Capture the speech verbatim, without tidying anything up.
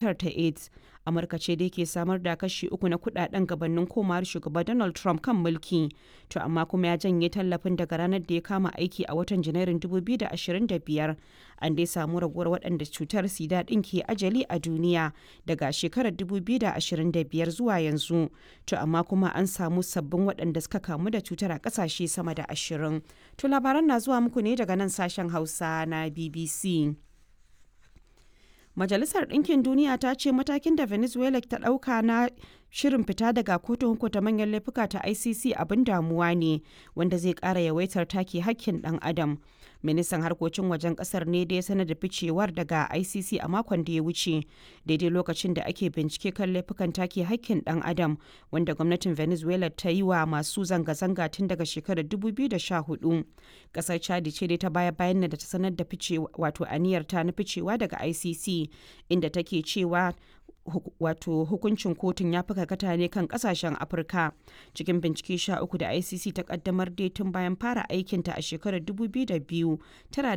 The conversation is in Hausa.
Cutar ta AIDS. Amurka ce dai ke samar da kashi uku na kudaden gabanin komawar Shugaba Donald Trump kan mulki, to amma kuma ya janye tallafin daga ranar da ya kama aiki a watan Janairun dubu biyu da ashirin da biyar. An dai samu raguwar waɗanda cutar sida ɗin ke ajali a duniya daga shekarar dubu biyu da ashirin da biyar zuwa yanzu, to amma kuma an samu sabbin waɗanda suka kamu da cutar a ƙasashe sama da ashirin. To labaran na zuwa muku ne daga nan sashen Hausa na B B C. Majalisar Ɗinkin Duniya ta ce matakin da Venezuela ta ɗauka na shirin fita daga kotun hukunta manyan laifuka ta I C C abin damuwa ne wanda zai ƙara yawaitar take hakkin ɗan adam. Ministan harkokin wajen ƙasar ne da ya sanar da ficewar daga I C C a makon da ya wuce, daidai lokacin da ake bincike kan laifukan take hakkin ɗan adam wanda gwamnatin Venezuela ta yi wa masu zanga-zanga tun daga shekarar dubu biyu da sha hudu. Ƙasar Chadi ce dai ta baya bayan da ta sanar da ficewa, wato aniyar ta na ficewa daga I C C, inda take cewa wato hukuncin kotun ya fi karkata ne kan kasashen Afirka. Cikin bincike sha uku da I C C ta kaddamar dai tun bayan fara aikinta a shekarar dubu biyu da biyu, tana